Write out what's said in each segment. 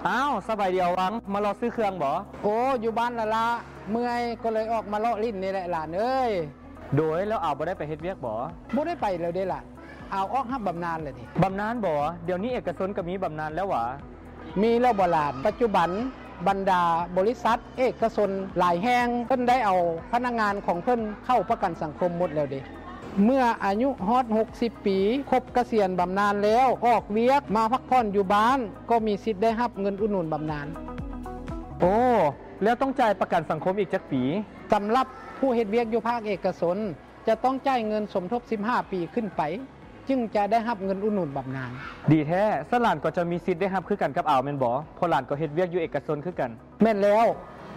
ອ້າວ ສະບາຍດີອາວັງ, ມາເລາະຊື້ເຄື່ອງບໍ? ໂອ້ ຢູ່ບ້ານລະລະ, ເມື່ອຍກໍເລີຍອອກມາເລາະຫຼິ້ນນີ້ແຫຼະຫຼານເອີຍ. ໂດຍ ແລ້ວອາວບໍ່ໄດ້ໄປເຮັດວຽກບໍ? ບໍ່ໄດ້ໄປແລ້ວເດ້ຫຼານ, ອາວອອກຮັບບຳນານແລ້ວເດ້. ບຳນານບໍ? ດຽວນີ້ເອກະຊົນກໍມີບຳນານແລ້ວຫວາ? ມີແລ້ວບໍຫຼານ? ປັດຈຸບັນບັນດາບໍລິສັດເອກະຊົນຫຼາຍແຫ່ງ ເພິ່ນໄດ້ເອົາພະນັກງານຂອງເພິ່ນເຂົ້າປະກັນສັງຄົມໝົດແລ້ວເດ້. ເມື່ອອາຍຸຮອດຫົກສິບປີ ຄົບກະສຽນບຳນານແລ້ວ ອອກວຽກມາພັກຜ່ອນຢູ່ບ້ານ ກໍມີສິດໄດ້ຮັບເງິນອຸດໜູນບຳນານ. ໂອ້ ແລ້ວຕ້ອງຈ່າຍປະກັນສັງຄົມອີກຈັກປີ? ສຳລັບຜູ້ເຮັດວຽກຢູ່ພາກເອກະຊົນ ຈະຕ້ອງຈ່າຍເງິນສົມທົບສິບຫ້າປີຂຶ້ນໄປ ຈຶ່ງຈະໄດ້ຮັບເງິນອຸດໜູນບຳນານ. ດີແທ້, ຊັ້ນຫຼານກໍຈະມີສິດໄດ້ຮັບຄືກັນກັບອາວແມ່ນບໍ? ເພາະຫຼານກໍເຮັດວຽກຢູ່ເອກະຊົນຄືກັນ. ແມ່ນແລ້ວ,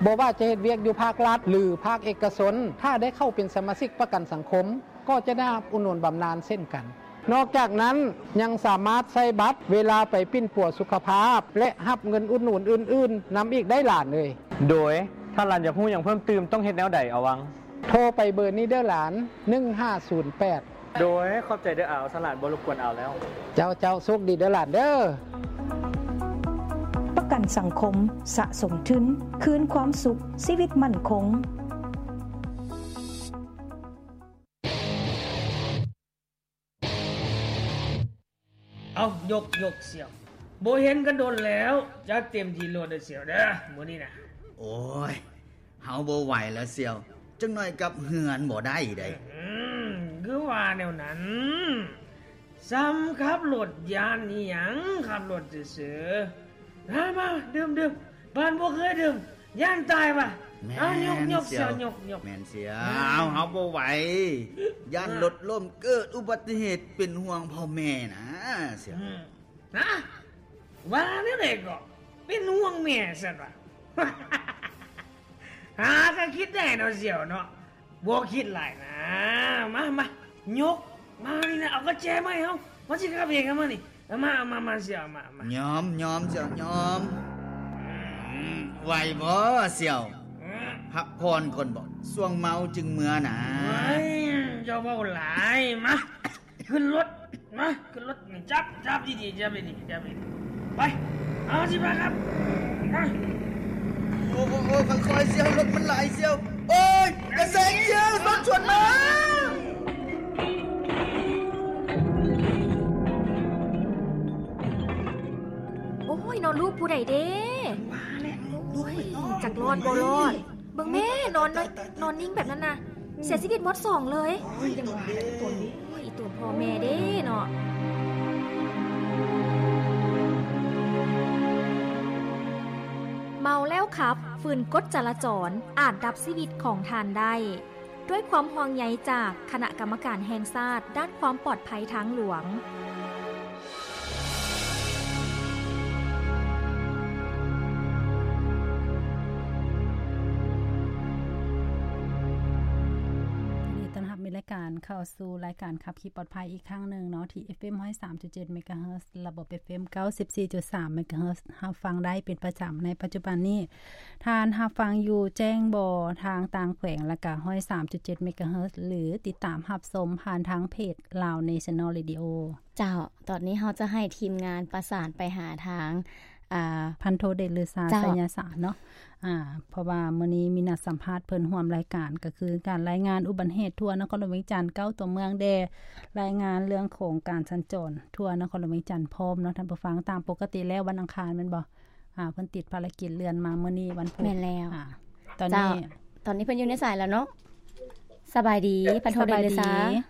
ບໍ່ວ່າຈະເຮັດວຽກຢູ່ພາກລັດ ຫຼື ພາກເອກະຊົນ, ຖ້າໄດ້ເຂົ້າເປັນສະມາຊິກປະກັນສັງຄົມ ກໍຈະໄດ້ຮັບອຸດໜູນບຳນານເຊັ່ນກັນ. ນອກຈາກນັ້ນ, ຍັງສາມາດໃຊ້ບັດເວລາໄປປິ່ນປົວສຸຂະພາບ ແລະ ຮັບເງິນອຸດໜູນອື່ນໆນຳອີກໄດ້ຫຼານເອີຍ. ໂດຍ ຖ້າຫຼານຢາກຮູ້ຫຍັງເພີ່ມຕື່ມ ຕ້ອງເຮັດແນວໃດອາວັງ? ໂທໄປເບີນີ້ເດີຫຼານ ໜຶ່ງຫ້າສູນແປດ. ໂດຍ ຂອບໃຈເດີອາວ, ສະຫຼານບໍ່ລົບກວນອາວແລ້ວ. ເຈົ້າ, ເຈົ້າ, ໂຊກດີເດີຫຼານເດີ. ປະກັນສັງຄົມ, ສະສົມທຶນ, ຄືນຄວາມສຸກ, ຊີວິດໝັ້ນຄົງ. ເອົາ ຍົກ ຍົກ ສ່ຽວ. ບໍ່ເຫັນກັນດົນແລ້ວ, ຈັດເຕັມທີ່ໂລດເດີສ່ຽວເດີ ມື້ນີ້ນະ. ໂອ້ຍ ເຮົາບໍ່ໄຫວແລ້ວສ່ຽວ, ຈັກໜ້ອຍກັບເຮືອນບໍ່ໄດ້ໃດ. ອືມ ຄືວ່າແນວນັ້ນ. ສ່ຳຂັບລົດຢ້ານອີ່ຫຍັງ, ຂັບລົດຊື່ໆ. ມາ ມາ ດື່ມ ດື່ມ, ບານບໍ່ເຄີຍດື່ມ ຢ້ານຕາຍວ່າ. ແມ່ນ ເອົາ ຍົກ ຍົກ ສ່ຽວ ສ່ຽວ ຍົກ ຍົກ. ແມ່ນສ່ຽວ. ອືມ ເຮົາ ເຮົາບໍ່ໄຫວ, ຢ້ານລົດລົ້ມເກີດອຸບັດຕິເຫດ, ເປັນຫ່ວງພໍ່ແມ່ນະສ່ຽວ. ອືມ ຮະ? ວ່າແນວໃດກໍ? ເປັນຫ່ວງແມ່ຊັ້ນວ່າ. ຫາກໍຄິດໄດ້ເນາະສ່ຽວເນາະ, ບໍ່ຄິດຫຼາຍນະ. ມາ ມາ ຍົກມານີ້ນະ, ເອົາກະແຈມາໃຫ້ເຮົາ, ມາຊິຂັບເອງກັນມານີ້. ເອົາມາ ເອົາມາ ມາສ່ຽວ ເອົາມາ ເອົາມາ. ຍອມ ຍອມ ສ່ຽວ ຍອມ. ອືມ ໄຫວບໍ່ສ່ຽວ? ອືມ ພັກຜ່ອນກ່ອນບໍ? ຊ່ວງເມົາຈຶ່ງເມືອນະ. ເອີຍ ເຈົ້າເວົ້າຫຼາຍ. ມາ ຂຶ້ນລົດ ມາ ຂຶ້ນລົດ. ຈັບ ຈັບດີໆ ຈັບດີໆ ຈັບດີໆ. ໄປ ເອົາ ຊິພາກັນ ມາ. ໂອ້ ໂອ້ ໂອ້ ຄ່ອຍໆ ສ່ຽວ, ລົດມັນຫຼາຍສ່ຽວ. ໂອ້ຍ ຢ່າແຊງສ່ຽວ, ລົດສວນມາ. ໂອ້ຍ ເນາະ ລູກຜູ້ໃດເດ້? ວ່າແຫຼະ ໂອ້ຍ ຈັກລອດບໍ່ລອດ. ເບິ່ງແມ້ ນອນ ຕາຍ ຕາຍ ນອນນິ່ງແບບນັ້ນນະ. ເສຍຊີວິດໝົດສອງເລີຍ. ໂອ້ຍ ຈັ່ງວ່າແຫຼະ ອີ່ຕົນນີ້ ໂອ້ຍ ອີ່ຕົນພໍ່ແມ່ເດ້ເນາະ. ເມົາແລ້ວຂັບ, ຝືນກົດຈະລາຈອນ ອາດດັບຊີວິດຂອງທ່ານໄດ້. ດ້ວຍຄວາມຫ່ວງໃຍຈາກຄະນະກຳມະການແຫ່ງຊາດດ້ານຄວາມປອດໄພທາງຫຼວງ. ຍິນດີຕ້ອນຮັບມີລາຍການເຂົ້າສູ່ລາຍການຂັບຂີ່ປອດໄພອີກຄັ້ງໜຶ່ງເນາະ ທີ່ ເອັຟເອັມ ຮ້ອຍສາມຈຸດເຈັດ ເມກາເຮີດ, ລະບົບ ເອັຟເອັມ ເກົ້າສິບສີ່ຈຸດສາມ ເມກາເຮີດ, ຮັບຟັງໄດ້ເປັນປະຈຳໃນປັດຈຸບັນນີ້. ທ່ານຮັບຟັງຢູ່ແຈ້ງບໍ່ ທາງຕ່າງແຂວງ ລະກະ ຮ້ອຍສາມຈຸດເຈັດ ເມກາເຮີດ ຫຼື ຕິດຕາມຮັບຊົມຜ່ານທາງເພຈ Lao National Radio. ເຈົ້າ, ຕອນນີ້ເຮົາຈະໃຫ້ທີມງານປະສານໄປຫາທາງ ອ່າ ພັນໂທເດດລືຊາ ເຈົ້າ ໄຊຍະສານເນາະ. ອ່າ ເພາະວ່າມື້ນີ້ມີນັດສຳພາດເພິ່ນຮ່ວມລາຍການ ກໍຄືການລາຍງານອຸບັດຕິເຫດທົ່ວນະຄອນຫຼວງວຽງຈັນ ເກົ້າຕົວເມືອງແດ່, ລາຍງານເລື່ອງຂອງການສັນຈອນທົ່ວນະຄອນຫຼວງວຽງຈັນພ້ອມເນາະທ່ານຜູ້ຟັງ. ຕາມປົກກະຕິແລ້ວວັນອັງຄານແມ່ນບໍ່? ອ່າ ເພິ່ນຕິດພາລະກິດເລື່ອນມາມື້ນີ້ວັນພຸດ. ແມ່ນແລ້ວ. ອ່າ ຕອນນີ້ ເຈົ້າ ຕອນນີ້ເພິ່ນຢູ່ໃນສາຍແລ້ວເນາະ. ສະບາຍດີ ພັນໂທເດດລືຊາ. ສະບາຍດີ.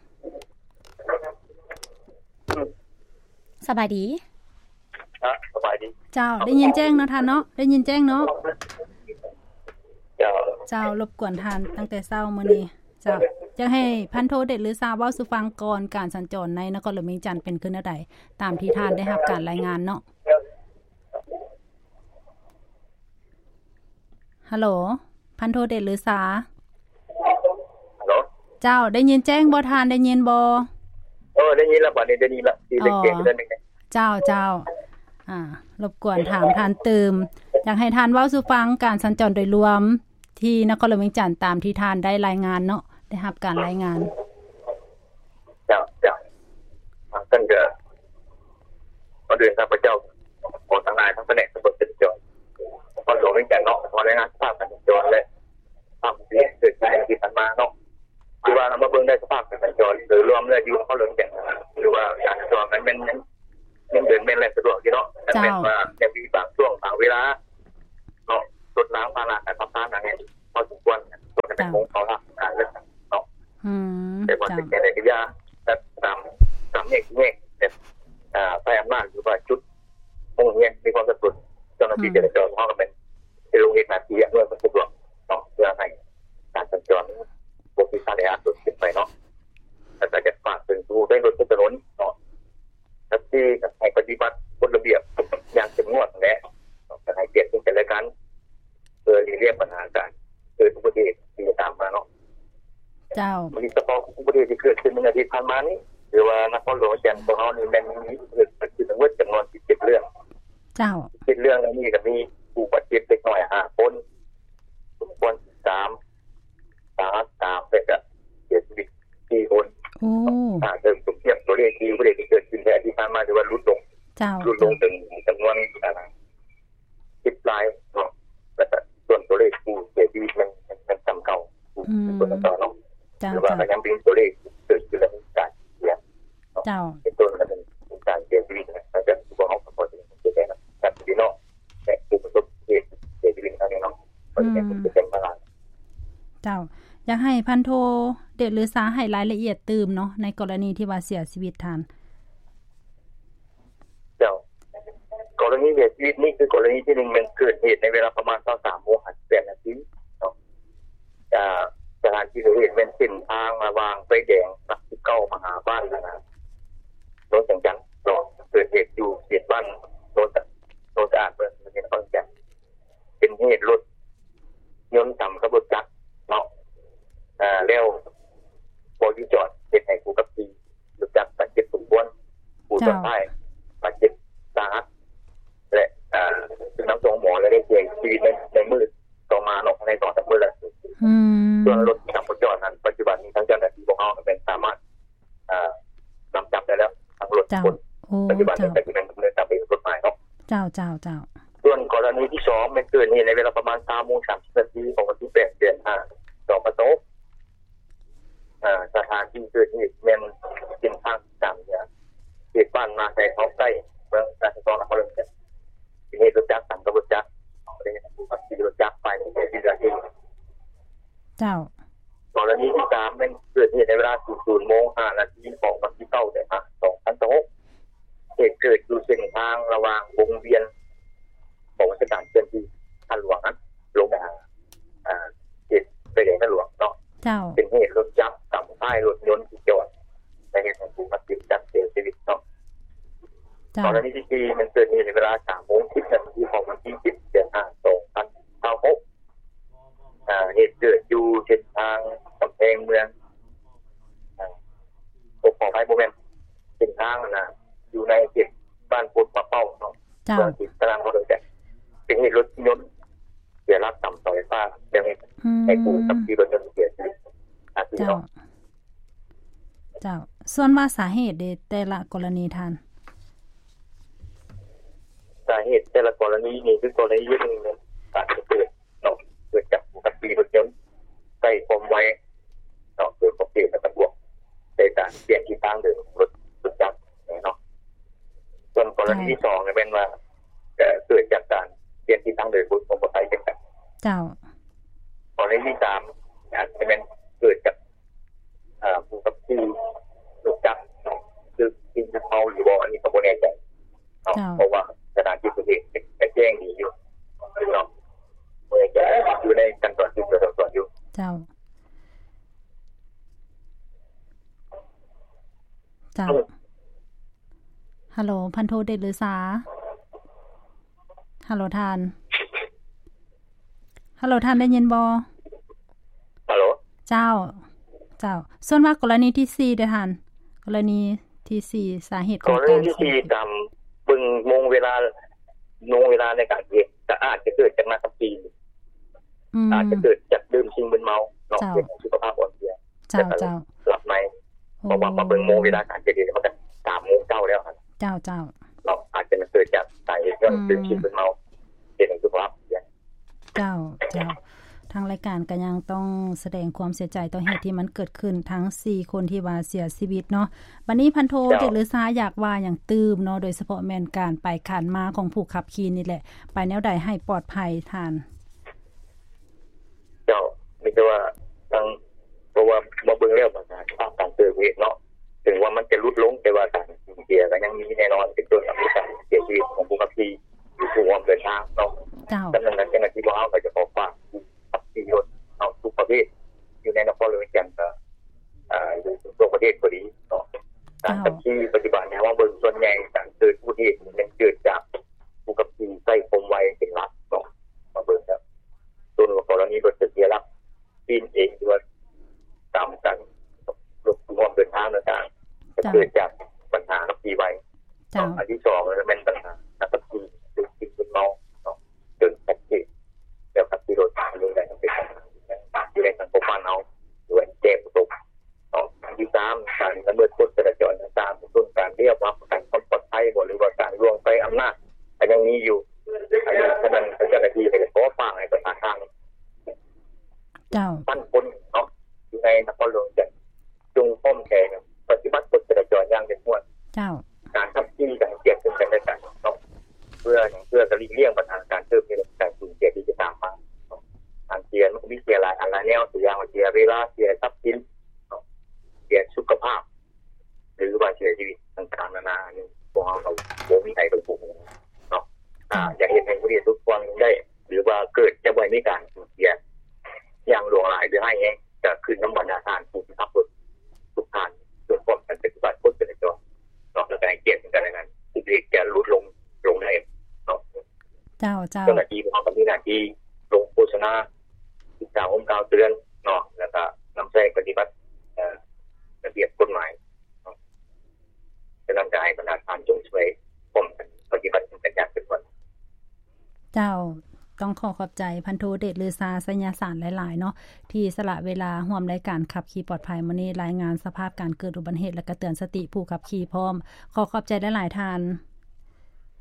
ສະບາຍດີ. ອ່ະ ສະບາຍດີ. ເຈົ້າ ໄດ້ຍິນແຈ້ງເນາະທ່ານເນາະ, ໄດ້ຍິນແຈ້ງເນາະ. ເຈົ້າ. ເຈົ້າ ລົບກວນທ່ານຕັ້ງແຕ່ເຊົ້າມື້ນີ້. ເຈົ້າ ຢາກໃຫ້ພັນໂທເດດລືຊາເວົ້າສູ່ຟັງກ່ອນ ການສັນຈອນໃນນະຄອນຫຼວງວຽງຈັນເປັນຄືແນວໃດ ຕາມທີ່ທ່ານໄດ້ຮັບການລາຍງານເນາະ. ຮັລໂຫຼ ພັນໂທເດດລືຊາ. ຮັລໂຫຼ. ເຈົ້າ ໄດ້ຍິນແຈ້ງບໍ່ທ່ານ? ໄດ້ຍິນບໍ່? ເອີ ໄດ້ຍິນລະ ບັດນີ້ໄດ້ຍິນລະ. ເຈົ້າ ເຈົ້າ. ອ່າ ລົບກວນຖາມທ່ານຕື່ມ, ຢາກໃຫ້ທ່ານເວົ້າສູ່ຟັງການສັນຈອນໂດຍລວມທີ່ນະຄອນຫຼວງວຽງຈັນ ຕາມທີ່ທ່ານໄດ້ລາຍງານເນາະ, ໄດ້ຮັບການລາຍງານ. ເຈົ້າ ເຈົ້າ. ອ່າ ເຊິ່ງກໍ ກ່ອນອື່ນຂ້າພະເຈົ້າຂໍທັງຫຼາຍທັງພະແນກສຳຫຼວດຈະລາຈອນ ພີ່ນ້ອງ ເຈົ້າ ແມ່ນວ່າຍັງມີບາງຊ່ວງບາງເວລາເນາະ ລົດລາງພາລະການຂັບຜ່ານຫຍັງນີ້ພໍສົມຄວນ ເຈົ້າ ຂອງເຂົາລະການເລືອກຕັ້ງເນາະ ອືມ ແຕ່ວ່າ ເຈົ້າ ເປັນໄປໄດ້ກໍຢ່າ ແບບຕາມ ຕາມແຍກແຍກ ແບບ ອ່າ ໃຊ້ອຳນາດ ຫຼືວ່າຈຸດໂຮງຮຽນມີຄວາມສັບສົນ ເຈົ້າໜ້າທີ່ ອືມ ຈະລາຈອນຂອງເຮົາກໍແມ່ນ ໄປລົງເຮັດໜ້າທີ່ອອຳນວຍຄວາມສະດວກເນາະ ເພື່ອໃຫ້ການສັນຈອນບໍ່ມີການແອອັດເກີດຂຶ້ນໄປເນາະ ແລ້ວກໍຢາກຝາກເຖິງຜູ້ໃຊ້ລົດໃຊ້ຖະໜົນເນາະ ແທັກຊີ ກໍໃຫ້ປະຕິບັດກົດລະບຽບຢ່າງເຂັ້ມງວດແຫຼະ ກໍໃຫ້ກຽດເຊິ່ງກັນແລະກັນ ເພື່ອຫຼີກລ້ຽງບັນຫາການເກີດອຸບັດຕິເຫດທີ່ຈະຕາມມາເນາະ. ເຈົ້າ ໂດຍສະເພາະອຸບັດຕິເຫດທີ່ເກີດຂຶ້ນໃນອາທິດຜ່ານມານີ້ ຫຼືວ່ານະຄອນຫຼວງວຽງຈັນຂອງເຮົານີ້ ແມ່ນມີເຫດເກີດຂຶ້ນທັງໝົດຈຳນວນສິບເຈັດເລື່ອງ. ເຈົ້າ ສິບເຈັດເລື່ອງນີ້ກໍມີຜູ້ບາດເຈັບເດັກນ້ອຍຫ້າຄົນ, ສົມຄວນສິບສາມ, ສາຫັດສາມ ແລະ ກໍເສຍຊີວິດສີ່ຄົນ. ໂອ້ ຖ້າເທີບທຽບຕົວເລກທີ່ ອຸບັດຕິເຫດທີ່ເກີດຂຶ້ນໃນອາທິດຜ່ານມາ ຖືວ່າຫຼຸດລົງ. ເຈົ້າ ຫຼຸດລົງເຖິງຈຳນວນ ອ່າ ສິບລາຍເນາະ ແລ້ວກໍສ່ວນຕົວເລກຜູ້ເສຍຊີວິດມັນ ມັນ ມັນສ່ຳເກົ່າ ອືມ ສ່ວນເກົ່າເນາະ. ເຈົ້າ ແຕ່ວ່າກໍຍັງເປັນຕົວເລກເກີດຂຶ້ນ ແລະ ມີການເສຍເນາະ. ເຈົ້າ ເປັນຕົ້ນກໍເປັນການເສຍຊີວິດນະ ແລ້ວກໍພວກເຮົາກໍຂໍສະແດງຄວາມເສຍໃຈນຳກັບພີ່ນ້ອງ ແລະ ຜູ້ປະສົບເຫດເສຍຊີວິດໃນຄັ້ງນີ້ເນາະ. ອືມ ເຈົ້າ ຢາກໃຫ້ພັນໂທ ເດດລືສາ ໃຫ້ລາຍລະອຽດຕື່ມເນາະ ໃນກໍລະນີທີ່ວ່າເສຍຊີວິດທ່ານ. ເຈົ້າ ກໍລະນີເສຍຊີວິດນີ້ຄືກໍລະນີທີໜຶ່ງ ແມ່ນເກີດເຫດໃນເວລາປະມານຊາວສາມໂມງຫ້າສິບແປດນາທີເນາະ. ອ່າ ສະຖານທີ່ເກີດເຫດແມ່ນເສັ້ນທາງລະຫວ່າງໄຟແດງຫຼັກສິບເກົ້າມາຫາບ້ານ ອ່າ ໂນນແສງຈັນເນາະ. ເກີດເຫດຢູ່ເຂດບ້ານໂນນ ໂນນສະອາດ ເມືອງ ນະຄອນວຽງຈັນ. ເປັນເຫດລົດຍົນຊຳກັບລົດຈັກເນາະ ເອີ ແລ້ວບໍ່ຢູ່ຈອດ ເຮັດໃຫ້ຜູ້ຂັບຂີ່ລົດຈັກບາດເຈັບສົມຄວນ, ຜູ້ຊ້ອນທ້າຍບາດເຈັບສາຫັດ ແລະ ເອີ ຖືກນຳສົ່ງໂຮງໝໍ ແລະ ໄດ້ເສຍຊີວິດໃນ ໃນມື້ຕໍ່ມາເນາະ ໃນສອງສາມມື້ແລ້ວ. ອືມ ສ່ວນລົດທີ່ນຳມາຈອດນັ້ນ ປັດຈຸບັນນີ້ທາງເຈົ້າໜ້າທີ່ພວກເຮົາແມ່ນສາມາດ ອ່າ ນຳຈັບໄດ້ແລ້ວທັງລົດຄົນ. ເຈົ້າ ໂອ້ ປັດຈຸບັນນີ້ກໍຊິແມ່ນດຳເນີນຕາມໄປຕາມກົດໝາຍເນາະ. ເຈົ້າ ເຈົ້າ ເຈົ້າ. ສ່ວນກໍລະນີທີສອງ ແມ່ນເກີດເຫດໃນເວລາປະມານຊາວໂມງສາມສິບນາທີ ຂອງວັນທີແປດ ເດືອນຫ້າ ສອງພັນຊາວຫົກ. ເອີ ສະຖານທີ່ເກີດເຫດແມ່ນເສັ້ນທາງກາງເໜືອ ເຂດບ້ານນາໄຊເທົາໃຕ້ ເມືອງນາຊາຍທອງ ນະຄອນຫຼວງວຽງຈັນ. ເປັນເຫດລົດຈັກຊຳກັບລົດຈັກ ໄດ້ຮັບຜູ້ຂັບຂີ່ລົດຈັກໄປເສຍຊີວິດ. ເຈົ້າ. ກໍລະນີທີສາມ ແມ່ນເກີດເຫດໃນເວລາສູນໂມງຫ້ານາທີ ຂອງວັນທີເກົ້າ ເດືອນຫ້າ ສອງພັນຊາວຫົກ. ເຫດເກີດຢູ່ເສັ້ນທາງລະຫວ່າງວົງວຽນ ຂອງເທດສະການເຄື່ອນທີ່ທາງຫຼວງຫັ້ນ ລົງໄປຫາ ອ່າ ເຂດໄຟແດງທາງຫຼວງເນາະ. ເຈົ້າ. ເປັນເຫດລົດຈັກຊຳທ້າຍລົດຍົນທີ່ຈອດ ແລະ ເຮັດໃຫ້ຜູ້ບາດເຈັບຈັກເສຍຊີວິດເນາະ. ເຈົ້າ. ກໍລະນີທີສີ່ ແມ່ນເກີດເຫດໃນເວລາສາມໂມງສິບນາທີ ຂອງວັນທີສິບ ເດືອນຫ້າ ສອງພັນຊາວຫົກ. ອ່າ ເຫດເກີດຢູ່ເສັ້ນທາງກຳແພງເມືອງ ອ່າ ໂອ້ ຂໍອະໄພ ບໍ່ແມ່ນ ເສັ້ນທາງຫັ້ນນະ ຢູ່ໃນເຂດບ້ານໂພນປາເປົ້າເນາະ. ເຈົ້າ. ເມືອງສີສະຫະນະຄອນຫຼວງວຽງຈັນ. ເປັນເຫດລົດຍົນເສຍຫຼັກຊຳເສົາໄຟຟ້າ ແລ້ວເຮັດໃຫ້ຜູ້ ອືມ ຂັບຂີ່ລົດຍົນເສຍຊີວິດຄາທີ່ເນາະ. ເຈົ້າ. ເຈົ້າ. ສ່ວນວ່າສາເຫດເດ ແຕ່ລະກໍລະນີທ່ານ? ສາເຫດແຕ່ລະກໍລະນີນີ້ ຄືກໍລະນີໜຶ່ງ ການເກີດເນາະ ເກີດຈາກຜູ້ຂັບຂີ່ລົດຍົນໃຊ້ຄວາມໄວເນາະ ເກີນຂອບເຂດ ແລ້ວກໍບວກໃສ່ການປ່ຽນທິດທາງເດີນຂອງລົດ ລົດຈັກເນາະ. ສ່ວນກໍລະນີທີສອງ ກໍແມ່ນວ່າ ເກີດຈາກການປ່ຽນທິດທາງເດີນຂອງມອເຕີໄຊເຊັ່ນກັນ. ເຈົ້າ. ກໍລະນີທີສາມ ອາດຈະແມ່ນເກີດຈາກ ເອີ ຜູ້ຂັບຂີ່ລົດຈັກເນາະ ຄືກິນເມົາຫຼືບໍ່ ອັນນີ້ກໍບໍ່ແນ່ໃຈເນາະ. ເຈົ້າ. ເພາະວ່າສະຖານທີ່ເກີດເຫດກໍແຈ້ງດີຢູ່ເນາະ ບໍ່ແນ່ໃຈ ຢູ່ໃນຂັ້ນຕອນສືບສວນສອບສວນຢູ່. ເຈົ້າ. ເຈົ້າ. ອືມ. ຮັລໂຫຼ ພັນໂທ ເດດລືສາ. ຮັລໂຫຼທ່ານ. ຮັລໂຫຼ ທ່ານໄດ້ຍິນບໍ່? ຮັລໂຫຼ. ເຈົ້າ. ເຈົ້າ. ສ່ວນວ່າກໍລະນີທີສີ່ເດທ່ານ? ກໍລະນີທີສີ່ ສາເຫດຂອງການ ກໍລະນີທີສີ່ ຕາມເບິ່ງໂມງເວລາ ໂມງເວລາໃນການເຮັດ ກໍອາດຈະເກີດຈາກນ້ຳກະປີ ອືມ ອາດຈະເກີດຈາກດື່ມສິ່ງມຶນເມົາເນາະ. ເຈົ້າ. ເຮັດໃຫ້ສຸຂະພາບອ່ອນເພຍ. ເຈົ້າ ເຈົ້າ. ຫຼັບໃນ ເພາະວ່າມາເບິ່ງໂມງເວລາການເກີດເຫດ ມັນກໍສາມໂມງເຊົ້າແລ້ວຫັ້ນ. ເຈົ້າ ເຈົ້າ. ເນາະ ອາດຈະເກີດຈາກສາເຫດຍ້ອນ ອືມ ດື່ມສິ່ງມຶນເມົາ ເຮັດໃຫ້ສຸຂະພາບເສຍ. ເຈົ້າ ເຈົ້າ. າງລາຍການກໍຍັງຕ້ອງສະແດງຄວາມເສຍໃຈຕໍ່ເຫດທີ່ມັນເກີດຂຶ້ນທັງສີ່ຄົນທີ່ວ່າເສຍຊີວິດເນາະ. ບັດນີ້ພັນໂທ ເຈົ້າ ເດດລືຊາ ຢາກວ່າຫຍັງຕື່ມເນາະ ໂດຍສະເພາະແມ່ນການໄປການມາຂອງຜູ້ຂັບຂີ່ນີ້ແຫຼະ ໄປແນວໃດໃຫ້ປອດໄພທ່ານ? ເຈົ້າ ມີແຕ່ວ່າທາງ ເພາະວ່າມາເບິ່ງແລ້ວບັນຫາສະພາບການເກີດເຫດເນາະ ເຖິງວ່າມັນຈະຫຼຸດລົງ ແຕ່ວ່າການສູນເສຍກໍຍັງມີແນ່ນອນ ເປັນຕົ້ນກໍມີການເສຍຊີວິດຂອງຜູ້ຂັບຂີ່ ຢູ່ຜູ້ຮ່ວມເດີນທາງເນາະ. ເຈົ້າ. ສະນັ້ນ ເຈົ້າໜ້າທີ່ພວກເຮົາກໍຈະຂໍຝາກຜູ້ຂັບຂີ່ລົດເນາະ ທຸກປະເພດ ຢູ່ໃນນະຄອນຫຼວງວຽງຈັນ ກໍ ອ່າ ຢູ່ທົ່ວປະເທດກໍດີເນາະ ການ ເຈົ້າ ຂັບຂີ່ປັດຈຸບັນເຮົາມາເບິ່ງ ສ່ວນໃຫຍ່ການເກີດອຸບັດຕິເຫດນີ້ແມ່ນເກີດຈາກຜູ້ຂັບຂີ່ໃຊ້ຄວາມໄວເປັນຫຼັກເນາະ. ມາເບິ່ງແລ້ວ ຕົ້ນກໍລະນີລົດຈະເສຍຫຼັກ ປີນເອງ ຫຼືວ່າຕາມກັນ ລົດຮ່ວມເດີນທາງຕ່າງໆ ກໍ ເຈົ້າ ເກີດຈາກບັນຫາຂັບຂີ່ໄວ. ເຈົ້າ. ອັນທີສອງ ແມ່ນບັນຫານັກຂັບຂີ່ ເປັນສິ່ງມຶນເມົາເນາະ ຈົນຊັດເຈນ ແລ້ວຂັບຂີ່ລົດເປັນເລື່ອງໃດກໍເປັນບັນຫາຢູ່ໃນສັງຄົມບ້ານເຮົາ ຫຼືວ່າແກ້ບໍ່ຕົກເນາະ. ອັນທີສາມ ການລະເມີດກົດຈະລາຈອນຕ່າງໆ ເປັນຕົ້ນການລຽບຮັບປະກັນຄວາມປອດໄພບໍ ຫຼືວ່າການລ່ວງໄປອຳນາດ ກໍຍັງມີຢູ່. ອັນນີ້ ສະນັ້ນ ເຈົ້າໜ້າທີ່ກໍຂໍຝາກໃຫ້ປະຊາຊົນ ເຈົ້າ ພັນຄົນເນາະ ຢູ່ໃນນະຄອນຫຼວງວຽງຈັນ ຈົ່ງພ້ອມໃຈປະຕິບັດກົດຈະລາຈອນຢ່າງເຂັ້ມງວດ. ເຈົ້າ. ການຂັບຂີ່ກໍໃຫ້ກຽດເຊິ່ງກັນແລະກັນເນາະ ເພື່ອຫຍັງ? ເພື່ອກະຫຼີກລ່ຽງບັນຫາການເກີດເຫດການສູນເສຍທີ່ຈະຕາມມາເນາະ. ການເສຍມັນກໍມີເສຍຫຼາຍອັນຫຼາຍແນວ ຕົວຢ່າງວ່າເສຍເວລາ ເສຍຊັບສິນເນາະ ເສຍສຸຂະພາບ ຫຼືວ່າເສຍຊີວິດຕ່າງໆນານາ ອັນນີ້ພວກເຮົາກໍບໍ່ມີໃຜເປັນຜູ້ຮູ້ເນາະ. ເຈົ້າ. ອາ ຢາກເຮັດໃຫ້ຜູ້ທີ່ທຸກຄົນໄດ້ ຫຼືວ່າເກີດຈະບໍ່ໃຫ້ມີການສູນເສຍຢ່າງຫຼວງຫຼາຍ ຫຼືຮ້າຍແຮງ ກະຂຶ້ນນຳບັນດາທ່ານຜູ້ທີ່ຂັບລົດທຸກທ່ານ ຈົ່ງພ້ອມກັນປະຕິບັດກົດຈະລາຈອນເນາະ ແລ້ວກະໃຫ້ກຽດເຊິ່ງກັນແລະກັນ ເພື່ອທີ່ຈະຫຼຸດລົງ ລົງໄດ້ເນາະ. ເຈົ້າ ເຈົ້າ. ເຈົ້າໜ້າທີ່ພວກເຮົາກໍມີໜ້າທີ່ລົງໂຄສະນາ ສຶກສາອົບຮົມກ່າວເຕືອນເນາະ ແລ້ວກະນຳໃຊ້ປະຕິບັດ ເອີ ລະບຽບກົດໝາຍເນາະ. ສະນັ້ນກໍໃຫ້ບັນດາທ່ານຈົ່ງຊ່ວຍຮ່ວມກັນປະຕິບັດນຳກັນຢ່າງເຂັ້ມງວດ. ເຈົ້າ. ຕ້ອງຂໍຂອບໃຈພັນໂທ ເດດລືຊາ ໄຊຍະສານ ຫຼາຍໆເນາະ ທີ່ສະຫຼະເວລາຮ່ວມລາຍການຂັບຂີ່ປອດໄພມື້ນີ້ ລາຍງານສະພາບການເກີດອຸບັດຕິເຫດ ແລະກະເຕືອນສະຕິຜູ້ຂັບຂີ່ພ້ອມ. ຂໍຂອບໃຈຫຼາຍໆທ່ານ.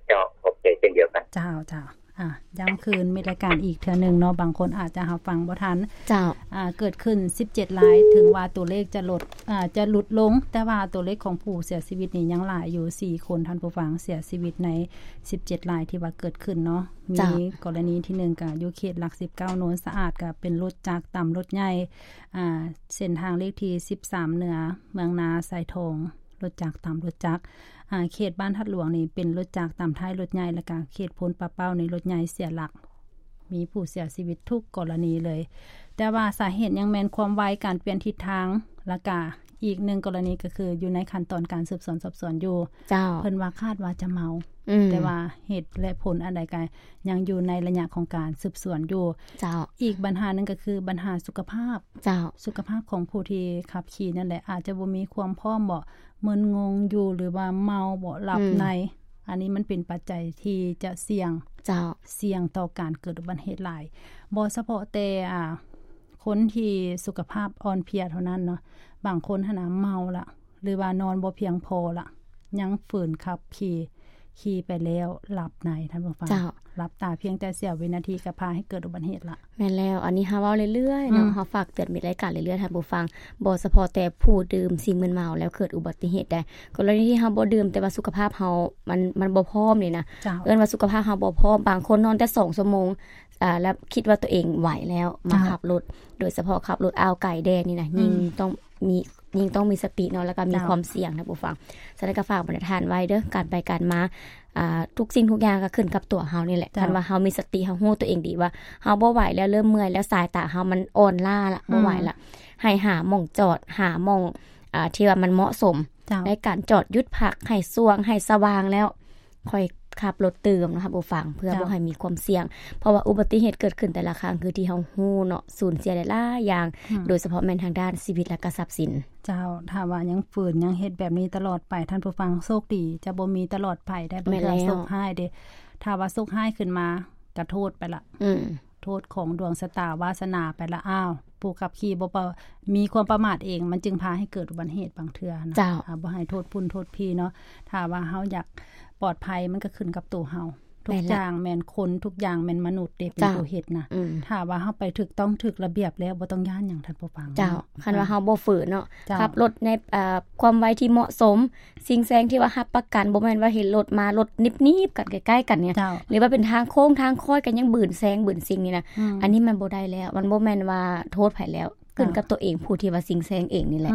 ເຈົ້າ ຂອບໃຈເຊັ່ນດຽວກັນ. ເຈົ້າ ເຈົ້າ. ອາ ຢ້ຳຄືນມີລາຍການອີກເທື່ອໜຶ່ງເນາະ ບາງຄົນອາດຈະຮັບຟັງບໍ່ທັນ. ເຈົ້າ. ອາ ເກີດຂຶ້ນສິບເຈັດລາຍ ເຖິງວ່າຕົວເລກຈະລົດ ອາ ຈະຫຼຸດລົງ ແຕ່ວ່າຕົວເລກຂອງຜູ້ເສຍຊີວິດນີ້ຍັງຫຼາຍຢູ່ສີ່ຄົນ ທ່ານຜູ້ຟັງ ເສຍຊີວິດໃນສິບເຈັດລາຍທີ່ວ່າເກີດຂຶ້ນເນາະ. ເຈົ້າ. ມີກໍລະນີທີໜຶ່ງກະຢູ່ເຂດຫຼັກສິບເກົ້າ ໂນນສະອາດ ກະເປັນລົດຈັກຕຳລົດໃຫຍ່ ອາ ເສັ້ນທາງເລກທີສິບສາມເໜືອ ເມືອງນາ ສາຍທອງ ລົດຈັກຕຳລົດຈັກ ອາ ເຂດບ້ານທາດຫຼວງນີ້ເປັນລົດຈັກຕຳທ້າຍລົດໃຫຍ່ ແລ້ວກະເຂດໂພນປາເປົ້ານີ້ລົດໃຫຍ່ເສຍຫຼັກ ມີຜູ້ເສຍຊີວິດທຸກກໍລະນີເລີຍ. ແຕ່ວ່າສາເຫດຍັງແມ່ນຄວາມໄວ ການປ່ຽນທິດທາງ ແລ້ວກະອີກໜຶ່ງກໍລະນີກໍຄືຢູ່ໃນຂັ້ນຕອນການສືບສວນສອບສວນຢູ່. ເຈົ້າ. ເພິ່ນວ່າຄາດວ່າຈະເມົາ ອືມ ແຕ່ວ່າເຫດ ແລະ ຜົນອັນໃດກະຍັງຢູ່ໃນໄລຍະຂອງການສືບສວນຢູ່. ເຈົ້າ. ອີກບັນຫາໜຶ່ງກໍຄືບັນຫາສຸຂະພາບ. ເຈົ້າ. ສຸຂະພາບຂອງຜູ້ທີ່ຂັບຂີ່ນັ້ນແຫຼະ ອາດຈະບໍ່ມີຄວາມພ້ອມບໍ ມຶນງົງຢູ່ ຫຼືວ່າເມົາບໍ ຫຼັບໃນ ອືມ ອັນນີ້ມັນເປັນປັດໄຈທີ່ຈະສ່ຽງ ເຈົ້າ ສ່ຽງຕໍ່ການເກີດອຸບັດຕິເຫດຫຼາຍ ບໍ່ສະເພາະແຕ່ ອາ ຄົນທີ່ສຸຂະພາບອ່ອນເພຍເທົ່ານັ້ນເນາະ ບາງຄົນຫັ້ນນະເມົາລະ ຫຼືວ່ານອນບໍ່ພຽງພໍລະ ຍັງຝືນຂັບຂີ່ ຂີ່ໄປແລ້ວຫຼັບໃນ ທ່ານຜູ້ຟັງ. ເຈົ້າ. ຫຼັບຕາພຽງແຕ່ສຽວວິນາທີກໍພາໃຫ້ເກີດອຸບັດຕິເຫດລະ. ແມ່ນແລ້ວ ອັນນີ້ເຮົາເວົ້າເລື້ອຍໆເນາະ ອືມ ເຮົາຝາກເຕືອນມິດລາຍການເລື້ອຍໆ ທ່ານຜູ້ຟັງ ບໍ່ສະເພາະແຕ່ຜູ້ດື່ມສິ່ງມຶນເມົາແລ້ວເກີດອຸບັດຕິເຫດໄດ້ ກໍລະນີທີ່ເຮົາບໍ່ດື່ມ ແຕ່ວ່າສຸຂະພາບເຮົາມັນ ມັນບໍ່ພ້ອມນີ້ນະ. ເຈົ້າ. ເອີ້ນວ່າສຸຂະພາບເຮົາບໍ່ພ້ອມ ບາງຄົນນອນແຕ່ສອງຊົ່ວໂມງ ອາ ແລ້ວຄິດວ່າຕົວເອງໄຫວແລ້ວ ມາ ເຈົ້າ ຂັບລົດ ໂດຍສະເພາະຂັບລົດອ່າວໄກແດ່ນີ້ນະ ອືມ ຍິ່ງຕ້ອງມີ ຍິ່ງຕ້ອງມີສະຕິເນາະ ແລ້ວກໍມີ ເຈົ້າ ຄວາມສ່ຽງ ທ່ານຜູ້ຟັງ. ສະນັ້ນກໍຝາກບັນດາທ່ານໄວ້ເດີ ການໄປການມາ ອ່າ ທຸກສິ່ງທຸກຢ່າງກໍຂຶ້ນກັບຕົວເຮົານີ້ແຫຼະ. ເຈົ້າ. ຄັນວ່າເຮົາມີສະຕິ ເຮົາຮູ້ຕົວເອງດີວ່າເຮົາບໍ່ໄຫວແລ້ວ ເລີ່ມເມື່ອຍແລ້ວ ສາຍຕາເຮົາມັນອ່ອນລ້າລະ ອືມ ບໍ່ໄຫວລະ ໃຫ້ຫາໝ່ອງຈອດ ຫາໝ່ອງ ອ່າ ທີ່ວ່າມັນເໝາະສົມ ເຈົ້າ ໃນການຈອດຢຸດພັກ ໃຫ້ສວ່າງ ໃຫ້ສະຫວ່າງແລ້ວ ຄ່ອຍຂັບລົດຕື່ມເນາະ ທ່ານຜູ້ຟັງ ເພື່ອ ເຈົ້າ ບໍ່ໃຫ້ມີຄວາມສ່ຽງ ເພາະວ່າອຸບັດຕິເຫດເກີດຂຶ້ນແຕ່ລະຄັ້ງ ຄືທີ່ເຮົາຮູ້ເນາະ ສູນເສຍຫຼາຍໆຢ່າງ ອືມ ໂດຍສະເພາະແມ່ນທາງດ້ານຊີວິດ ແລະກະຊັບສິນ. ເຈົ້າ. ຖ້າວ່າຍັງຝືນ ຍັງເຮັດແບບນີ້ຕະຫຼອດໄປ ທ່ານຜູ້ຟັງ ໂຊກດີຈະບໍ່ມີຕະຫຼອດໄປໄດ໋ ແມ່ນແລ້ວ ໂຊກຮ້າຍເດ້ ຖ້າວ່າໂຊກຮ້າຍຂຶ້ນມາ ກະໂທດໄປລະ ອືມ ໂທດຂອງດວງຊະຕາວາສະໜາໄປລະ. ອ້າວ ຜູ້ຂັບຂີ່ບໍ່ປະ ມີຄວາມປະໝາດເອງ ມັນຈຶ່ງພາໃຫ້ເກີດອຸບັດຕິເຫດບາງເທື່ອນະ. ເຈົ້າ. ອາ ບໍ່ໃຫ້ໂທດພຸ້ນໂທດພີເນາະ ຖ້າວ່າເຮົາຢາກປອດໄພ ມັນກໍຂຶ້ນກັບໂຕເຮົາ. ທຸກຢ່າງແມ່ນຄົນ ທຸກຢ່າງແມ່ນມະນຸດເດ້ ເປັນຜູ້ເຮັດນະ. ຖ້າວ່າເຮົາໄປຖືກຕ້ອງຖືກລະບຽບແລ້ວ ບໍ່ຕ້ອງຢ້ານຫຍັງ ທ່ານຜູ້ຟັງ. ເຈົ້າ ຄັນວ່າເຮົາບໍ່ຝືນເນາະ ຂັບລົດໃນ ເອີ ຄວາມໄວທີ່ເໝາະສົມ ຊິງແຊງທີ່ວ່າຮັບປະກັນ ບໍ່ແມ່ນວ່າເຫັນລົດມາ ລົດໜີບໆກັນ ໃກ້ໆກັນນີ້ ຫຼືວ່າເປັນທາງໂຄ້ງທາງຄອຍ ກໍຍັງບືນແຊງບືນຊິງນີ້ນະ. ອັນນີ້ມັນບໍ່ໄດ້ແລ້ວ ມັນບໍ່ແມ່ນວ່າໂທດໃຜແລ້ວ ຂຶ້ນກັບຕົວເອງ ຜູ້ທີ່ວ່າຊິງແຊງເອງນີ້ແຫຼະ.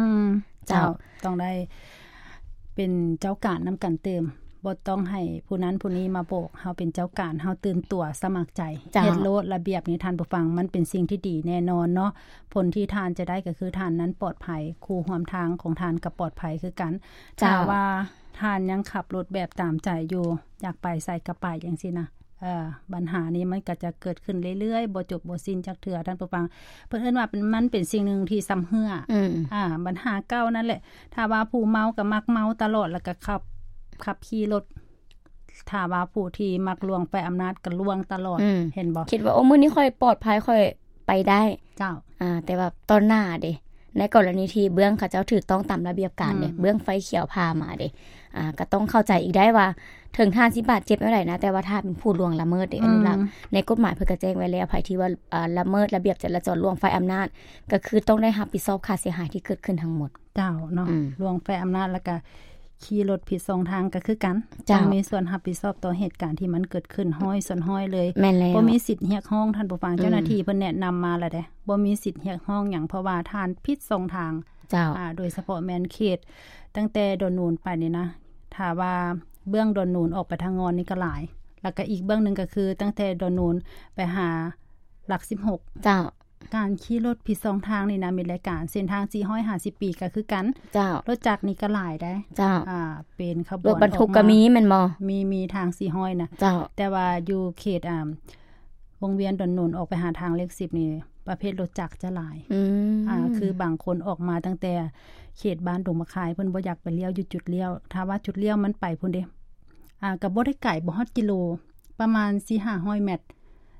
ເຈົ້າ ຕ້ອງໄດ້ເປັນເຈົ້າການນຳກັນຕື່ມ ບໍ່ຕ້ອງໃຫ້ຜູ້ນັ້ນຜູ້ນີ້ມາບອກ. ເຮົາເປັນເຈົ້າການ ເຮົາຕື່ນຕົວສະໝັກໃຈ ເຮັດໂລດ. ລະບຽບນີ້ ທ່ານຜູ້ຟັງ ມັນເປັນສິ່ງທີ່ດີແນ່ນອນເນາະ. ຜົນທີ່ທ່ານຈະໄດ້ກໍຄືທ່ານນັ້ນປອດໄພ ຄູ່ຮ່ວມທາງຂອງທ່ານກໍປອດໄພຄືກັນ. ຖ້າວ່າທ່ານຍັງຂັບລົດແບບຕາມໃຈຢູ່ ຢາກໄປໃສກໍໄປຈັ່ງຊີ້ນະ ເອີ ບັນຫານີ້ມັນກໍຈະເກີດຂຶ້ນເລື້ອຍໆ ບໍ່ຈົບບໍ່ສິ້ນຈັກເທື່ອ ທ່ານຜູ້ຟັງ. ເພິ່ນເອີ້ນວ່າເປັນ ມັນເປັນສິ່ງໜຶ່ງທີ່ຊຳເຮື້ອ ອືມ ອ່າ ບັນຫາເກົ່ານັ້ນແຫຼະ. ຖ້າວ່າຜູ້ເມົາກໍມັກເມົາຕະຫຼອດ ແລ້ວກໍຂັບ ຂັບຂີ່ລົດ. ຖ້າວ່າຜູ້ທີ່ມັກລ່ວງໄຟອຳນາດກໍລ່ວງຕະຫຼອດ ອືມ ເຫັນບໍ່? ຄິດວ່າ ໂອ້ ມື້ນີ້ຂ້ອຍປອດໄພ ຂ້ອຍໄປໄດ້. ເຈົ້າ ອ່າ ແຕ່ວ່າຕໍ່ໜ້າເດ້ ໃນກໍລະນີທີ່ເບື້ອງເຂົາເຈົ້າຖືກຕ້ອງຕາມລະບຽບການເດ້ ອືມ ເບື້ອງໄຟຂຽວຜ່າມາເດ້ ອ່າ ກໍຕ້ອງເຂົ້າໃຈອີກໄດ້ວ່າ ເຖິງທ່ານຊິບາດເຈັບແນວໃດນະ ແຕ່ວ່າທ່ານເປັນຜູ້ລ່ວງລະເມີດເດ້ ອະນຸລັກ. ໃນກົດໝາຍເພິ່ນກໍແຈ້ງໄວ້ແລ້ວ ໃຜທີ່ວ່າ ອ່າ ລະເມີດລະບຽບຈະລາຈອນ ລ່ວງໄຟອຳນາດ ກໍຄືຕ້ອງໄດ້ຮັບຜິດຊອບຄ່າເສຍຫາຍທີ່ເກີດຂຶ້ນທັງໝົດ. ເຈົ້າເນາະ ອືມ ລ່ວງໄຟອຳນາດ ແລ້ວກໍຂີ່ລົດຜິດຊ່ອງທາງກໍຄືກັນ ເຈົ້າ ຕ້ອງມີສ່ວນຮັບຜິດຊອບຕໍ່ເຫດການທີ່ມັນເກີດຂຶ້ນຮ້ອຍສ່ວນຮ້ອຍເລີຍ. ແມ່ນແລ້ວ ບໍ່ມີສິດຮຽກຮ້ອງ ທ່ານຜູ້ຟັງ. ອືມ ເຈົ້າໜ້າທີ່ເພິ່ນແນະນຳມາແລ້ວເດ້ ບໍ່ມີສິດຮຽກຮ້ອງຫຍັງ ເພາະວ່າທ່ານຜິດຊ່ອງທາງ. ເຈົ້າ ອ່າ ໂດຍສະເພາະແມ່ນເຂດຕັ້ງແຕ່ດອນໂນນໄປນີ້ນະ ຖ້າວ່າເບື້ອງດອນໂນນອອກໄປທາງງອນນີ້ກໍຫຼາຍ ແລ້ວກໍອີກເບື້ອງໜຶ່ງກໍຄືຕັ້ງແຕ່ດອນໂນນໄປຫາຫຼັກສິບຫົກ. ເຈົ້າ ການຂີ່ລົດຜິດຊ່ອງທາງນີ້ນະ ມີຫຼາຍການ ເສັ້ນທາງສີ່ຮ້ອຍຫ້າສິບປີກໍຄືກັນ. ເຈົ້າ ລົດຈັກນີ້ກໍຫຼາຍໄດ໋. ເຈົ້າ ອ່າ ເປັນຂະບວນ ລົດບັນທຸກກໍມີແມ່ນບໍ່? ມີ ມີທາງສີ່ຮ້ອຍນະ. ເຈົ້າ ແຕ່ວ່າຢູ່ເຂດ ອ່າ ວົງວຽນດອນໂນນອອກໄປຫາທາງເລກສິບນີ້ ປະເພດລົດຈັກຈະຫຼາຍ. ອືມ ອ່າ ຄືບາງຄົນອອກມາຕັ້ງແຕ່ເຂດບ້ານດົງມະຄາຍ ເພິ່ນບໍ່ຢາກໄປລ້ຽວຢູ່ຈຸດລ້ຽວ. ຖ້າວ່າຈຸດລ້ຽວມັນໄປພຸ້ນເດ້ ອ່າ ກໍບໍ່ໄດ້ໄກ ບໍ່ຮອດກິໂລ ປະມານສີ່ຫ້າຮ້ອຍແມັດ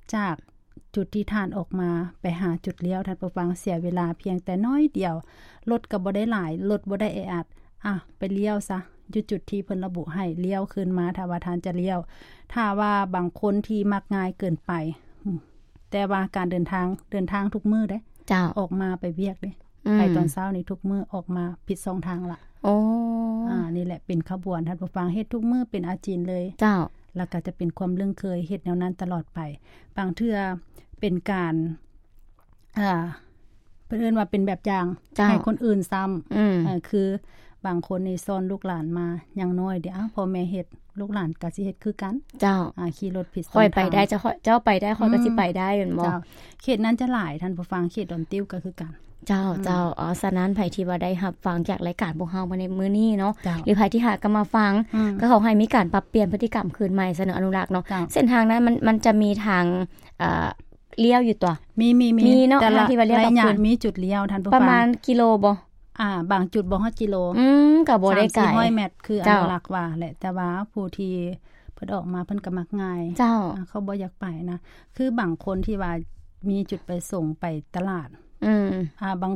ຈາກ ຈຸດທີ່ທ່ານອອກມາໄປຫາຈຸດລ້ຽວ ທ່ານຜູ້ຟັງ ເສຍເວລາພຽງແຕ່ໜ້ອຍດຽວ ລົດກໍບໍ່ໄດ້ຫຼາຍ ລົດບໍ່ໄດ້ແອອັດ. ອ່ະ ໄປລ້ຽວຊະ ຢູ່ຈຸດທີ່ເພິ່ນລະບຸໃຫ້ ລ້ຽວຄືນມາ ຖ້າວ່າທ່ານຈະລ້ຽວ. ຖ້າວ່າບາງຄົນທີ່ມັກງ່າຍເກີນໄປ ແຕ່ວ່າການເດີນທາງ ເດີນທາງທຸກມື້ເດ້. ເຈົ້າ ອອກມາໄປວຽກເດ້ ອືມ ໄປຕອນເຊົ້ານີ້ທຸກມື້ ອອກມາຜິດຊ່ອງທາງລະ. ໂອ້ ອ່າ ນີ້ແຫຼະເປັນຂະບວນ ທ່ານຜູ້ຟັງ ເຮັດທຸກມື້ເປັນອາຈິນເລີຍ. ເຈົ້າ ແລ້ວກໍຈະເປັນຄວາມລຶ້ງເຄີຍ ເຮັດແນວນັ້ນຕະຫຼອດໄປ. ບາງເທື່ອເປັນການ ອ່າ ເພິ່ນເອີ້ນວ່າເປັນແບບຢ່າງ ເຈົ້າ ໃຫ້ຄົນອື່ນຊ້ຳ. ອືມ ເອີ ຄືບາງຄົນນີ້ສອນລູກຫຼານມາ ຢ່າງໜ້ອຍເດ ອ້າວ ພໍ່ແມ່ເຮັດ ລູກຫຼານກໍຊິເຮັດຄືກັນ. ເຈົ້າ ອ່າ ຂີ່ລົດຜິດຊ່ອງທາງ ຂ້ອຍໄປໄດ້ ເຈົ້າ ຂ້ອຍ ເຈົ້າໄປໄດ້ ຂ້ອຍກໍຊິໄປໄດ້ ອືມ ແມ່ນບໍ່? ເຈົ້າ ເຂດນັ້ນຈະຫຼາຍ ທ່ານຜູ້ຟັງ ເຂດດອນຕິວກໍຄືກັນ. ເຈົ້າ ອືມ ເຈົ້າ ເອົາ ສະນັ້ນ ໃຜທີ່ວ່າໄດ້ຮັບຟັງຈາກລາຍການພວກເຮົາມາໃນມື້ນີ້ເນາະ ເຈົ້າ ຫຼືໃຜທີ່ຫາກໍມາຟັງ ອືມ ກໍຂໍໃຫ້ມີການປັບປ່ຽນພຶດຕິກຳຄືນໃໝ່ຊະເນາະ ອະນຸລັກເນາະ. ເຈົ້າ ເສັ້ນທາງນັ້ນມັນ ມັນຈະມີທາງ ເອີ ລ້ຽວຢູ່ຕົວະ? ມີ ມີ ມີ ມີເນາະ ທີ່ວ່າລ້ຽວ ໄລຍະ ມີຈຸດລ້ຽວ ທ່ານຜູ້ຟັງ ປະມານກິໂລບໍ່? ອ່າ ບາງຈຸດບໍ່ຮອດກິໂລ ອືມ ກໍບໍ່ໄດ້ໄກ ສາມສີ່ຮ້ອຍແມັດ ຄື ເຈົ້າ ອະນຸລັກວ່າແຫຼະ ແຕ່ວ່າຜູ້ທີ່ເພິ່ນອອກມາເພິ່ນກໍມັກງ່າຍ. ເຈົ້າ ອ່າ ເຂົາບໍ່ຢາກໄປນະ ຄືບາງຄົນທີ່ວ່າມີຈຸດປະສົງໄປຕະຫຼາດ ອືມ ອ່າ ບາງ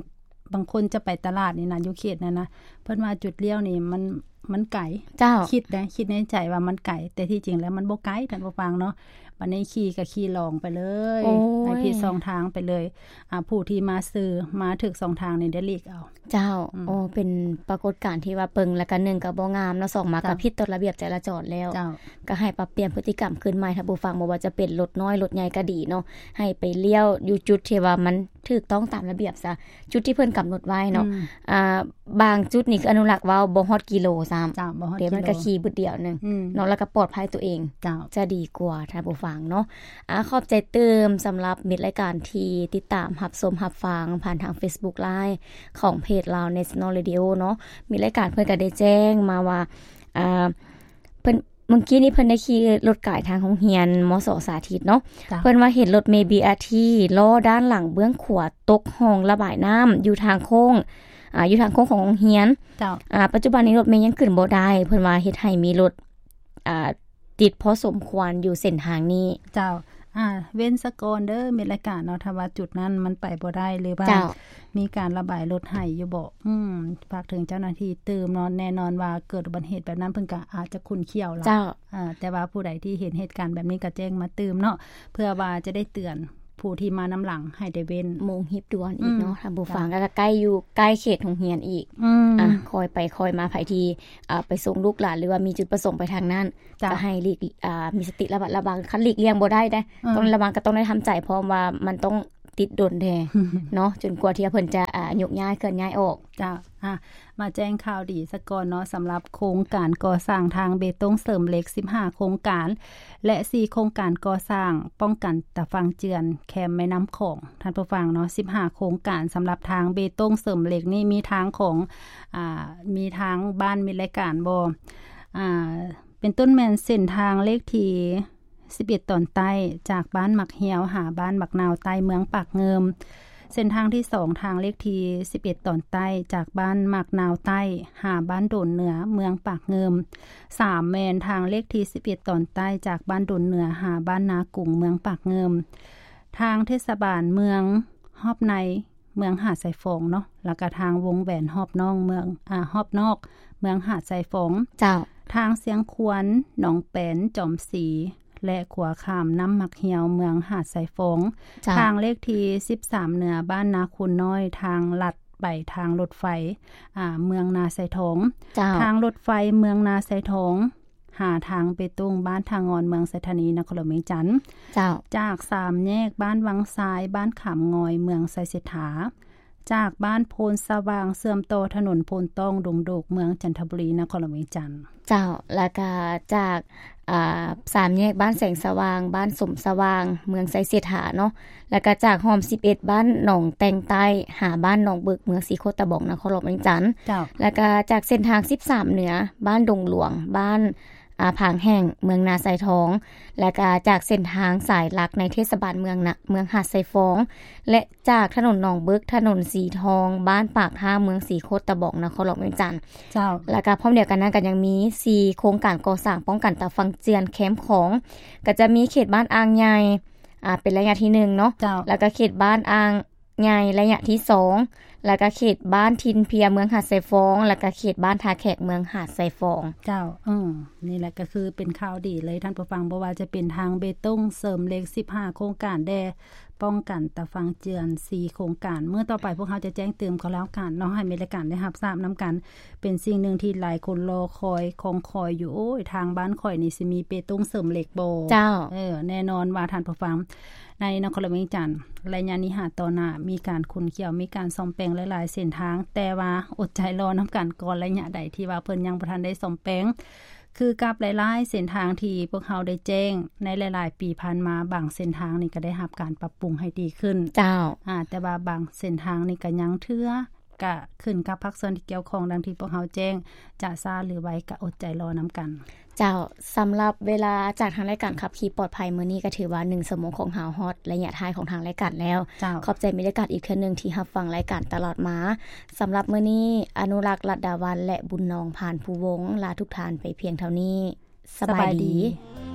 ບາງຄົນຈະໄປຕະຫຼາດນີ້ນະ ຢູ່ເຂດນັ້ນນະ ເພິ່ນວ່າຈຸດລ້ຽວນີ້ມັນ ມັນໄກ. ເຈົ້າ ຄິດໄດ໋ ຄິດໃນໃຈວ່າມັນໄກ ແຕ່ທີ່ຈິງແລ້ວມັນບໍ່ໄກ ທ່ານຜູ້ຟັງເນາະ. ບັດນີ້ຂີ່ກໍຂີ່ລອງໄປເລີຍ ໂອ້ຍ ໃຫ້ຜິດຊ່ອງທາງໄປເລີຍ. ອ່າ ຜູ້ທີ່ມາຊື່ ມາຖືກຊ່ອງທາງນີ້ໄດ້ຫຼີກເອົາ. ເຈົ້າ ອືມ ໂອ້ ເປັນປາກົດການທີ່ວ່າ ເບິ່ງແລ້ວກໍ ໜຶ່ງ ກໍບໍ່ງາມເນາະ ສອງ ມາ ເຈົ້າ ກໍຜິດຕໍ່ລະບຽບຈະລາຈອນແລ້ວ. ເຈົ້າ ກໍໃຫ້ປັບປ່ຽນພຶດຕິກຳຄືນໃໝ່ ທ່ານຜູ້ຟັງ ບໍ່ວ່າຈະເປັນລົດນ້ອຍລົດໃຫຍ່ກໍດີເນາະ ໃຫ້ໄປລ້ຽວຢູ່ຈຸດທີ່ວ່າມັນ ຖືກຕ້ອງຕາມລະບຽບຊະ ຈຸດທີ່ເພິ່ນກຳນົດໄວ້ເນາະ. ອືມ ອ່າ ບາງຈຸດນີ້ຄືອະນຸລັກເວົ້າບໍ່ຮອດກິໂລຊ້ຳ. ເຈົ້າ ບໍ່ຮອດກິໂລ ແຕ່ມັນກໍຂີ່ບຶດດຽວໜຶ່ງ ອືມ ເນາະ ແລ້ວກໍປອດໄພຕົວເອງ ເຈົ້າ ຈະດີກວ່າ ທ່ານຜູ້ຟັງເນາະ. ອ່າ ຂອບໃຈຕື່ມສຳລັບມິດລາຍການທີ່ຕິດຕາມຮັບຊົມຮັບຟັງຜ່ານທາງ Facebook Live ຂອງເພຈ Lao National Radio ເນາະ. ມິດລາຍການເພິ່ນກໍໄດ້ແຈ້ງມາວ່າ ອ່າ ເພິ່ນ ເມື່ອກີ້ນີ້ເພິ່ນໄດ້ຂີ່ລົດກາຍທາງໂຮງຮຽນ ມສ ສາທິດເນາະ. ເຈົ້າ ເພິ່ນວ່າເຫັນລົດເມ ບີອາທີ ລໍ້ດ້ານຫຼັງເບື້ອງຂວາຕົກຮ່ອງລະບາຍນ້ຳຢູ່ທາງໂຄ້ງ ອ່າ ຢູ່ທາງໂຄ້ງຂອງໂຮງຮຽນ. ເຈົ້າ ອ່າ ປັດຈຸບັນນີ້ລົດເມຍັງຂຶ້ນບໍ່ໄດ້ ເພິ່ນວ່າເຮັດໃຫ້ມີລົດ ອ່າ ຕິດພໍສົມຄວນຢູ່ເສັ້ນທາງນີ້. ເຈົ້າ ອ່າ ເວັ້ນສະກ່ອນເດີ ແມ່ນລາຍການເນາະ ຖ້າວ່າຈຸດນັ້ນມັນໄປບໍ່ໄດ້ ຫຼືວ່າ ເຈົ້າ ມີການລະບາຍລົດໃຫ້ຢູ່ບໍ່? ອືມ ຝາກເຖິງເຈົ້າໜ້າທີ່ຕື່ມເນາະ ແນ່ນອນວ່າເກີດອຸບັດເຫດແບບນັ້ນ ເພິ່ນກໍອາດຈະຂຸ້ນຂ້ຽວລະ ເຈົ້າ ເອີ ແຕ່ວ່າຜູ້ໃດທີ່ເຫັນເຫດການແບບນີ້ກໍແຈ້ງມາຕື່ມເນາະ ເພື່ອວ່າຈະໄດ້ເຕືອນຜູ້ທີ່ມານຳຫຼັງໃຫ້ໄດ້ເວັ້ນ ໂມງຮີບດ່ວນອີກເນາະ ອືມ ທ່ານຜູ້ຟັງ ເຈົ້າ ກໍໃກ້ຢູ່ ໃກ້ເຂດໂຮງຮຽນອີກ ອືມ ອ່າ ຄ່ອຍໄປຄ່ອຍມາ ໃຜທີ່ ອ່າ ໄປສົ່ງລູກຫຼານ ຫຼືວ່າມີຈຸດປະສົງໄປທາງນັ້ນ ເຈົ້າ ກໍໃຫ້ຫຼີກ ອ່າ ມີສະຕິລະມັດລະວັງ ຄັນຫຼີກລ່ຽງບໍ່ໄດ້ເດ້ ເອີ ຕ້ອງລະວັງ ກໍຕ້ອງໄດ້ທຳໃຈ ເພາະວ່າມັນຕ້ອງຕິດດົນແດ່ເນາະ ຈົນກວ່າທີ່ເພິ່ນຈະ ອ່າ ຍົກຍ້າຍ ເຄື່ອນຍ້າຍອອກ. ເຈົ້າ ອ່າ ມາແຈ້ງຂ່າວດີສາກ່ອນເນາະ ສຳລັບໂຄງການກໍ່ສ້າງທາງເບຕົງເສີມເຫຼັກສິບຫ້າໂຄງການ ແລະ ສີ່ໂຄງການກໍ່ສ້າງປ້ອງກັນຕາຝັ່ງເຈື່ອນແຄມແມ່ນ້ຳຂອງ ທ່ານຜູ້ຟັງເນາະ ສິບຫ້າໂຄງການ ສຳລັບທາງເບຕົງເສີມເຫຼັກນີ້ ມີທາງຂອງ ອ່າ ມີທາງບ້ານມິດລາຍການບໍ່? ອ່າ ເປັນຕົ້ນແມ່ນເສັ້ນທາງເລກທີສິບເອັດຕອນໃຕ້ ຈາກບ້ານໝາກຫ່ຽວຫາບ້ານໝາກນາວໃຕ້ ເມືອງປາກງື່ມ, ເສັ້ນທາງທີສອງ ທາງເລກທີສິບເອັດຕອນໃຕ້ ຈາກບ້ານໝາກນາວໃຕ້ຫາບ້ານໂດນເໜືອ ເມືອງປາກງື່ມ, ສາມ ແມ່ນທາງເລກທີສິບເອັດຕອນໃຕ້ ຈາກບ້ານໂດນເໜືອຫາບ້ານນາກຸງ ເມືອງປາກງື່ມ, ທາງເທດສະບານເມືອງຮອບໃນ ເມືອງຫາດຊາຍຟອງເນາະ ແລ້ວກະທາງວົງແຫວນຮອບນອກເມືອງ ອາ ຮອບນອກເມືອງຫາດຊາຍຟອງ. ເຈົ້າ. ທາງຊຽງຄວນ ໜອງແປນ ຈອມສີ ແລະ ຂົວຂ້າມນ້ຳໝາກຫ່ຽວ ເມືອງຫາດຊາຍຟອງ. ເຈົ້າ. ທາງເລກທີສິບສາມເໜືອ ບ້ານນາຄູນນ້ອຍ ທາງລັດໄປທາງລົດໄຟ ອາ ເມືອງນາຊາຍທອງ. ເຈົ້າ. ທາງລົດໄຟເມືອງນາຊາຍທອງ ຫາທາງເບຕົງ ບ້ານທ່າງ່ອນ ເມືອງໄຊທານີ ນະຄອນຫຼວງວຽງຈັນ. ເຈົ້າ. ຈາກສາມແຍກບ້ານວັງຊາຍ ບ້ານຂາມງອຍ ເມືອງໄຊເສດຖາ, ຈາກບ້ານໂພນສະຫວ່າງ ເຊື່ອມຕໍ່ຖະໜົນໂພນຕ້ອງ ດົງໂດກ ເມືອງຈັນທະບູລີ ນະຄອນຫຼວງວຽງຈັນ. ເຈົ້າ. ແລ້ວກະຈາກ ອ່າ ສາມແຍກບ້ານແສງສະຫວ່າງ ບ້ານສົມສະຫວ່າງ ເມືອງໄຊເສດຖາເນາະ, ແລ້ວກະຈາກຮ່ອມສິບເອັດ ບ້ານໜອງແຕ່ງໃຕ້ ຫາບ້ານໜອງເບີກ ເມືອງສີໂຄດຕະບອງ ນະຄອນຫຼວງວຽງຈັນ. ເຈົ້າ. ແລ້ວກະຈາກເສັ້ນທາງສິບສາມເໜືອ ບ້ານດົງຫຼວງ ບ້ານ ອາ ຜາງແຫ້ງ ເມືອງນາຊາຍທອງ, ແລ້ວກະຈາກເສັ້ນທາງສາຍຫຼັກໃນເທດສະບານເມືອງນະ ເມືອງຫາດຊາຍຟອງ ແລະ ຈາກຖະໜົນໜອງເບີກ ຖະໜົນສີທອງ ບ້ານປາກທາ ເມືອງສີໂຄດຕະບອງ ນະຄອນຫຼວງວຽງຈັນ. ເຈົ້າ. ແລ້ວກະພ້ອມດຽວກັນນັ້ນ ກະຍັງມີສີ່ໂຄງການກໍ່ສ້າງປ້ອງກັນຕາຝັ່ງເຈື່ອນແຄມຂອງ ກະຈະມີເຂດບ້ານອ່າງໃຫຍ່ ອາ ເປັນໄລຍະທີໜຶ່ງເນາະ. ເຈົ້າ. ແລ້ວກະເຂດບ້ານອ່າງ ໃຫຍ່ໄລຍະທີສອງ ແລ້ວກະເຂດບ້ານຖິ່ນເພຍ ເມືອງຫາດຊາຍຟອງ ແລ້ວກະເຂດບ້ານທ່າແຂກ ເມືອງຫາດຊາຍຟອງ. ເຈົ້າ. ເອີ ນີ້ແຫຼະກະຄືເປັນຂ່າວດີເລີຍທ່ານຜູ້ຟັງ, ບໍ່ວ່າຈະເປັນທາງເບຕົງເສີມເຫຼັກສິບຫ້າໂຄງການແດ່, ປ້ອງກັນຕາຝັ່ງເຈື່ອນສີ່ໂຄງການ. ມື້ຕໍ່ໄປພວກເຮົາຈະແຈ້ງຕື່ມກໍແລ້ວກັນເນາະ, ໃຫ້ແມ່ນລາຍການໄດ້ຮັບຊາບນຳກັນ. ເປັນສິ່ງໜຶ່ງທີ່ຫຼາຍຄົນລໍຄອຍ ຄອງຄອຍຢູ່, ໂອ້ຍ ທາງບ້ານຂ້ອຍນີ້ຊິມີເບຕົງເສີມເຫຼັກບໍ່? ເຈົ້າ. ເອີ ແນ່ນອນວ່າທ່ານຜູ້ຟັງ ໃນນະຄອນຫຼວງວຽງຈັນ ໄລຍະນີ້ຫາຕໍ່ໜ້າມີການຂຸ້ນຂ້ຽວ ມີການສ້ອມແປງຫຼາຍໆເສັ້ນທາງ, ແຕ່ວ່າອົດໃຈລໍນຳກັນກ່ອນ ໄລຍະໃດທີ່ວ່າເພິ່ນຍັງບໍ່ທັນໄດ້ສ້ອມແປງ ຄືກັບຫຼາຍໆເສັ້ນທາງທີ່ພວກເຮົາໄດ້ແຈ້ງໃນຫຼາຍໆປີຜ່ານມາ, ບາງເສັ້ນທາງນີ້ກໍໄດ້ຮັບການປັບປຸງໃຫ້ດີຂຶ້ນ. ເຈົ້າ. ອາ ແຕ່ວ່າບາງເສັ້ນທາງນີ້ກໍຍັງເທື່ອ ກະຂຶ້ນກັບພາກສ່ວນທີ່ກ່ຽວຂ້ອງ ດັ່ງທີ່ພວກເຮົາແຈ້ງ ຈະຊ້າຫຼືໄວກະອົດໃຈລໍນຳກັນ. ເຈົ້າ. ສຳລັບເວລາຈາກທາງລາຍການຂັບຂີ່ປອດໄພມື້ນີ້ ກະຖືວ່າໜຶ່ງຊົ່ວໂມງຂອງເຮົາຮອດໄລຍະທ້າຍຂອງທາງລາຍການແລ້ວ. ເຈົ້າ. ຂອບໃຈແມ່ນລາຍການອີກເທື່ອໜຶ່ງທີ່ຮັບຟັງລາຍການຕະຫຼອດມາ. ສຳລັບມື້ນີ້ ອະນຸລັກ ລັດດາວັນ ແລະ ບຸນນອງ ພານພູວົງ ລາທຸກທ່ານໄປພຽງເທົ່ານີ້. ສະບາຍດີ. ສະບາຍດີ.